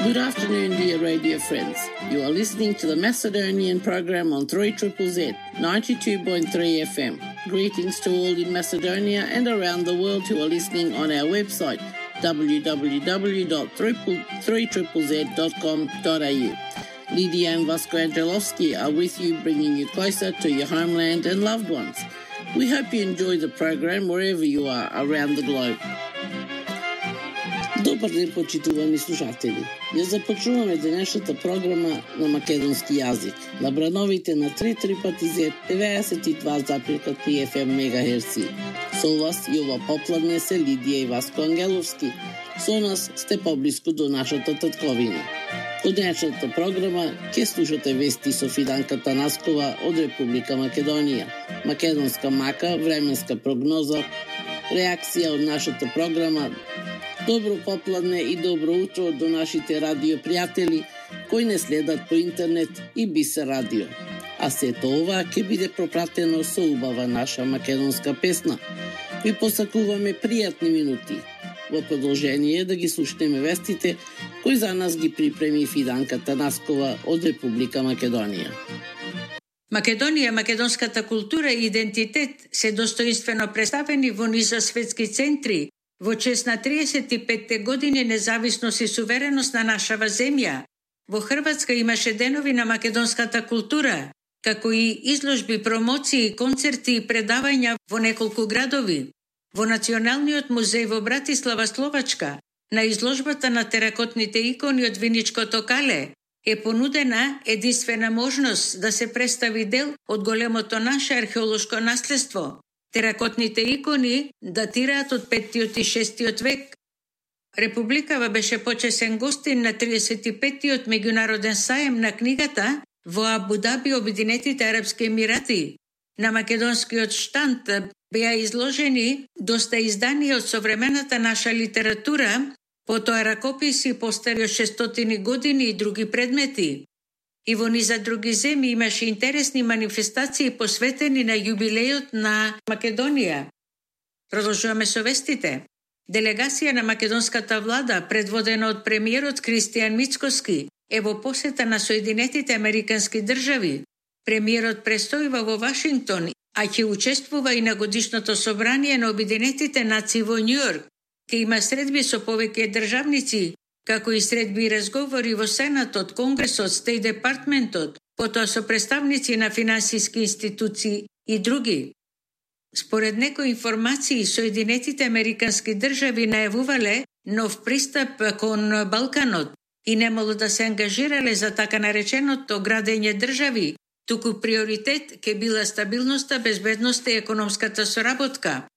Good afternoon, dear radio friends. You are listening to the Macedonian program on 3ZZZ 92.3 FM. Greetings to all in Macedonia and around the world who are listening on our website www.3ZZZ.com.au. Lydia and Vasco Angelovski are with you, bringing you closer to your homeland and loved ones. We hope you enjoy the program wherever you are around the globe. Добар ден, почитувани слушатели. Ја започнуваме денешната програма на македонски јазик. На брановите на 3ZZZ 92,3 FM мегахерци. Со вас Јова Попладне се Лидија и Васко Ангеловски. Со нас сте поблиску до нашата татковина. Во денешната програма ќе слушате вести со Фиданка Танаскова од Република Македонија, македонска мака, временска прогноза, реакција од нашата програма. Добро попладне и добро утро до нашите радиопријатели кои не следат по интернет и Бисер радио. А сето ова ќе биде пропратено со убава наша македонска песна. Ви посакуваме пријатни минути. Во продолжение да ги слушнеме вестите кои за нас ги припреми Фиданка Танаскова од Република Македонија. Македонија, македонската култура и идентитет се достоинствено представени во низа светски центри во чест на 35 години независност и сувереност на нашава земја. Во Хрватска имаше денови на македонската култура, како и изложби, промоции, концерти и предавања во неколку градови. Во Националниот музеј во Братислава, Словачка, на изложбата на теракотните икони од Виничкото кале е понудена единствена можност да се представи дел од големото наше археолошко наследство. Теракотните икони датираат од 5 и 6 век. Републикава беше почесен гостин на 35-тиот меѓународен саем на книгата во Абу Даби, Обединетите арапски емирати. На македонскиот штанд беа изложени доста изданија од современата наша литература, потоа ракописи постари од 600 години и други предмети. И во низа други земји имаше интересни манифестации посветени на јубилејот на Македонија. Продолжуваме со вестите. Делегација на македонската влада, предводена од премиерот Кристијан Мицкоски, е во посета на Соединетите Американски држави. Премиерот престојува во Вашингтон, а ќе учествува и на годишното собрание на Обединетите нации во Њујорк. Ке има средби со повеќе државници, како и средби и разговори во Сенатот, Конгресот, Стејт Департментот, потоа со представници на финансиски институции и други. Според некои информации, Соединетите Американски држави најавувале нов пристап кон Балканот и немало да се ангажирале за така нареченото градење држави, туку приоритет ке била стабилноста, безбедноста и економската соработка.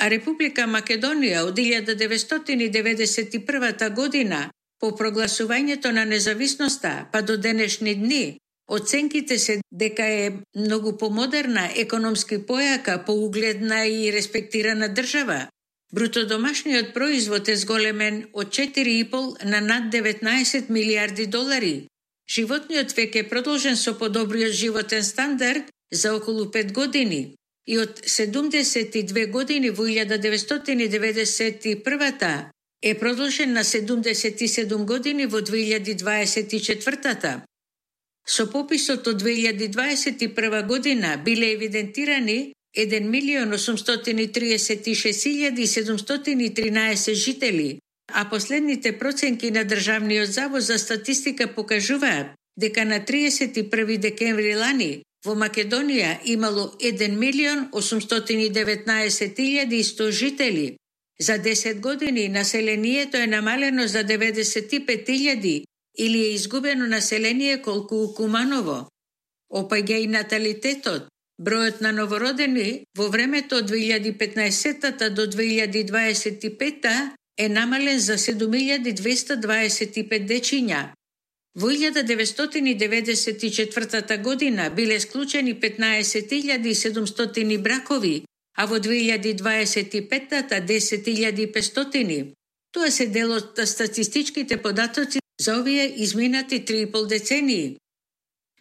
А Република Македонија од 1991 година, по прогласувањето на независноста па до денешни дни, оценките се дека е многу помодерна, економски појака, поугледна и респектирана држава. Брутодомашниот производ е зголемен од 4,5 на над 19 милиарди долари. Животниот век е продолжен со подобриот животен стандард за околу 5 години. И од 72 години во 1991 е продолжен на 77 години во 2024. Со пописот од 2021 година биле евидентирани 1.836.713 жители, а последните проценки на Државниот завод за статистика покажуваат дека на 31 декември лани во Македонија имало 1.819.100 жители. За 10 години населението е намалено за 95.000 или е изгубено население колку Куманово. Опаѓа и наталитетот. Бројот на новородени во времето од 2015 до 2025 е намален за 7.225 дечиња. Во 1994 година биле склучени 15.700 бракови, а во 2025 10.500. Тоа се дел од статистичките податоци за овие изминати 3,5 децении.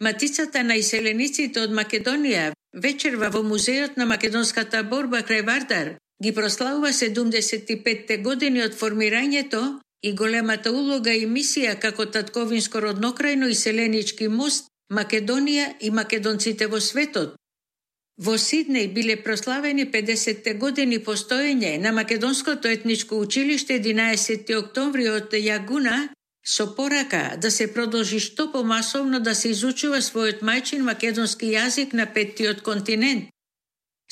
Матицата на иселениците од Македонија вечерва во Музејот на македонската борба крај Вардар ги прославува 75 години од формирањето и големата улога и мисија како татковинско роднокрајно и селенички мост Македонија и македонците во светот. Во Сиднеј биле прославени 50 години постоење на Македонското етничко училиште 11 октомври од Јагуна со порака да се продолжи што помасовно да се изучува својот мајчин македонски јазик на петтиот континент.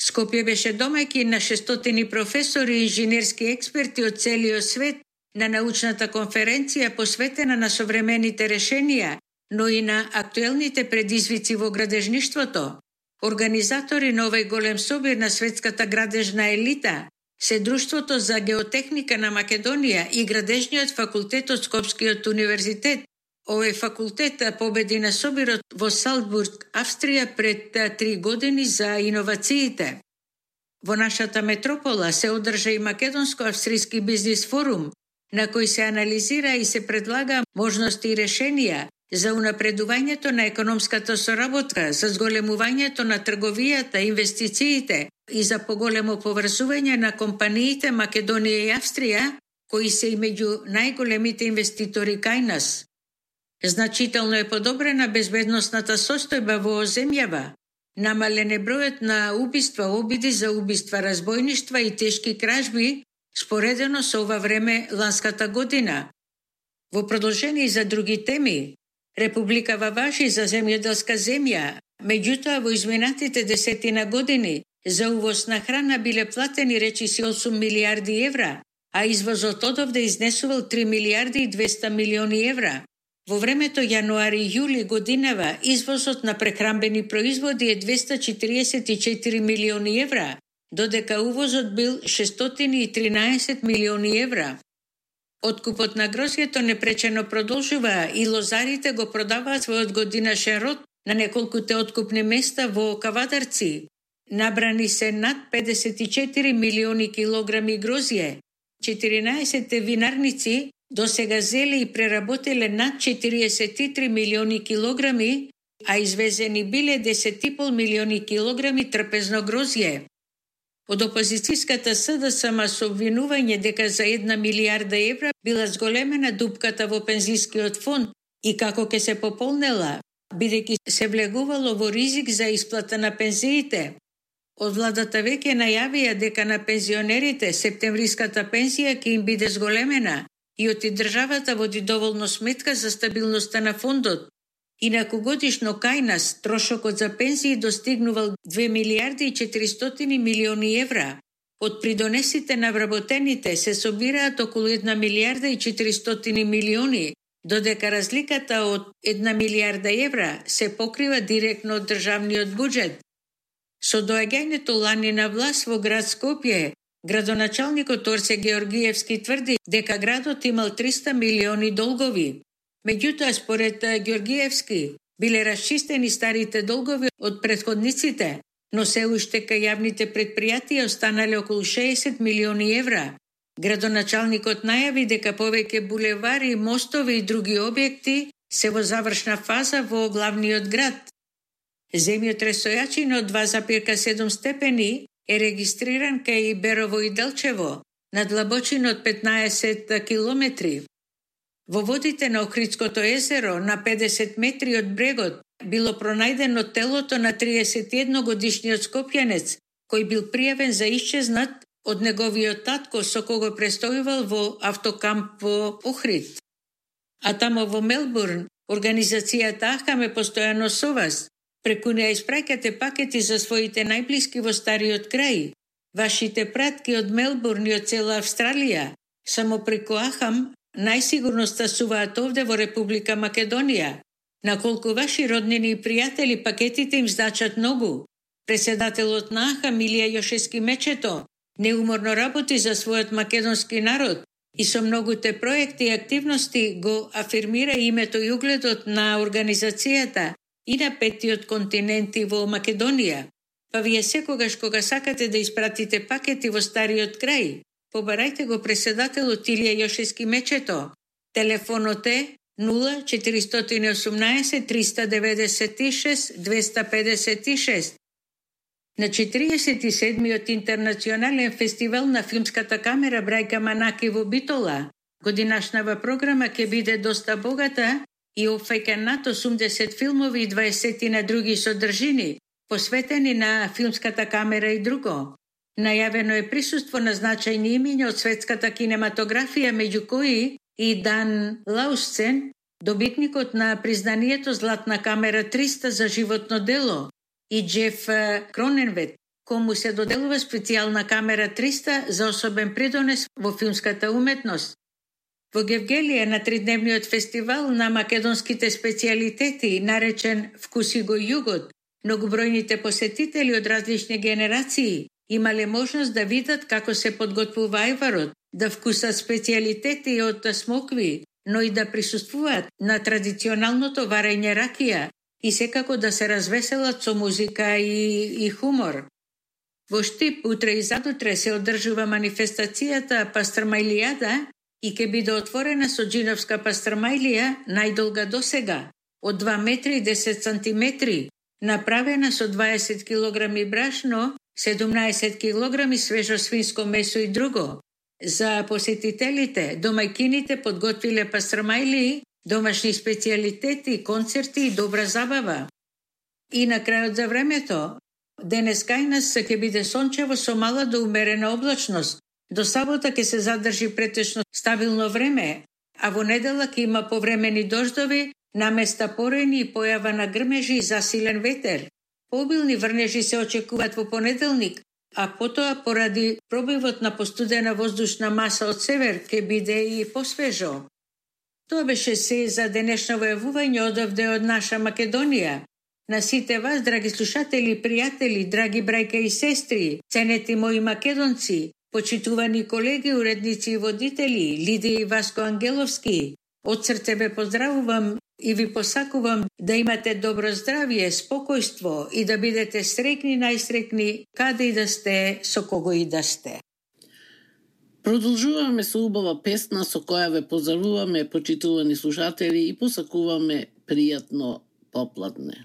Скопје беше домаќин на 600 професори и инженерски експерти од целиот свет на научната конференција посветена на современите решенија, но и на актуелните предизвици во градежништвото. Организатори на овој голем собир на светската градежна елита се Друштвото за геотехника на Македонија и Градежниот факултет од Скопскиот универзитет. Овој факултет победи на собирот во Салцбург, Австрија пред 3 години за иновациите. Во нашата метропола се одржа и Македонско-австрийски бизнис форум, на кој се анализира и се предлага можности и решенија за унапредувањето на економската соработка, за зголемувањето на трговијата, инвестициите и за поголемо поврзување на компаниите Македонија и Австрија, кои се и меѓу најголемите инвеститори кај нас. Значително е подобрена безбедносната состојба во земјава. Намален е бројот на убиства, обиди за убиства, разбојништва и тешки кражби, споредено со ова време ланската година. Во продолжение за други теми, Републикава важи за земјоделска земја, меѓутоа во изминатите 10 години за увоз на храна биле платени речиси 8 милиарди евра, а извозот одовде изнесувал 3 милиарди и 200 милиони евра. Во времето јануари-јули годинава извозот на прехранбени производи е 244 милиони евра, додека увозот бил 613 милиони евра. Откупот на грозјето непречено продолжува и лозарите го продаваат својот годинашен род на неколкуте откупни места во Кавадарци. Набрани се над 54 милиони килограми грозје. 14 винарници досега зеле и преработеле над 43 милиони килограми, а извезени биле 10,5 милиони килограми трпезно грозје. Од опозицијската СДСМ со обвинување дека за 1 милиарда евра била зголемена дупката во пензискиот фонд и како ќе се пополнела, бидејќи се влегувало во ризик за исплата на пензиите. Од владата веќе најавија дека на пензионерите септемвриската пензија ќе им биде зголемена и оти државата води доволно сметка за стабилноста на фондот. Инаку годишно кај нас трошокот за пензии достигнувал 2 милиарди и 400 милиони евра. Од придонесите на вработените се собираат околу 1 милиарда и 400 милиони, додека разликата од 1 милиарда евра се покрива директно од државниот буџет. Со доаѓањето лани на власт во град Скопје, градоначалникот Орце Георгиевски тврди дека градот имал 300 милиони долгови. Меѓутоа, според Георгиевски, биле расчистени старите долгови од претходниците, но се уште кај јавните предпријатија останале околу 60 милиони евра. Градоначалникот најави дека повеќе булевари, мостови и други објекти се во завршна фаза во главниот град. Земјотресојачина од 2,7 степени е регистриран кај Берово и Делчево, на длабочина од 15 километри. Во водите на Охридското езеро, на 50 метри од брегот, било пронајдено телото на 31 годишниот скопјанец, кој бил пријавен за исчезнат од неговиот татко со кого престојувал во автокамп во Охрид. А тамо во Мелбурн, организацијата АХАМ е постојано со вас. Преку неа испраќате пакети за своите најблиски во стариот крај. Вашите пратки од Мелбурн и од цела Австралија, само преку АХАМ, најсигурно стасуваат овде во Република Македонија. На колку ваши роднини и пријатели пакетите им значат многу. Председателот на АХАМ Илија Јошевски Мечето неуморно работи за својот македонски народ и со многуте проекти и активности го афирмира името и угледот на организацијата и на петтиот континент и во Македонија. Па вие секогаш кога сакате да испратите пакети во стариот крај, побарајте го председателот Илија Јошевски Мечето. Телефонот е 0418 396 256. На 47-миот интернационален фестивал на филмската камера Брајка Манаки во Битола, Годинашнава програма ќе биде доста богата и опфаќа над 80 филмови и 20 на други содржини, посветени на филмската камера и друго. Најавено е присуство на значајни имиња од светската кинематографија, меѓу кои и Дан Лаусцен, добитникот на признанието Златна камера 300 за животно дело, и Джеф Кроненвет, кому се доделува специјална камера 300 за особен придонес во филмската уметност. Во Гевгелија на тридневниот фестивал на македонските специјалитети, наречен Вкуси го југот, многобројните посетители од различни генерации имале можност да видат како се подготвува ајварот, да вкусат специјалитети од смокви, но и да присуствуваат на традиционалното варење ракија и секако да се развеселат со музика и хумор. Во Штип утре и задутре се одржува манифестацијата Пастрмајлијада и ќе биде отворена со джиновска пастрмајлија најдолга досега, од 2 метри и 10 сантиметри, направена со 20 килограми брашно, 17 килограми свежо свинско месо и друго. За посетителите, домајкините подготвиле пастрмајлии, домашни специјалитети, концерти и добра забава. И на крајот за времето, денес кај нас ќе биде сончево со мала до умерена облачност. До сабота ќе се задржи претечно стабилно време, а во недела ќе има повремени дождови, наместа порени и појава на грмежи и засилен ветер. Пообилни врнежи се очекуваат во понеделник, а потоа поради пробивот на постудена воздушна маса од север ќе биде и посвежо. Тоа беше се за денешново јавување одовде од наша Македонија. На сите вас, драги слушатели и пријатели, драги брајка и сестри, ценети мои македонци, почитувани колеги, уредници и водители, Лидија и Васко Ангеловски, од срце ве поздравувам и ви посакувам да имате добро здравје, спокојство и да бидете среќни, најсреќни, каде и да сте, со кого и да сте. Продолжуваме со убава песна со која ве поздравуваме, почитувани слушатели, и посакуваме пријатно попладне.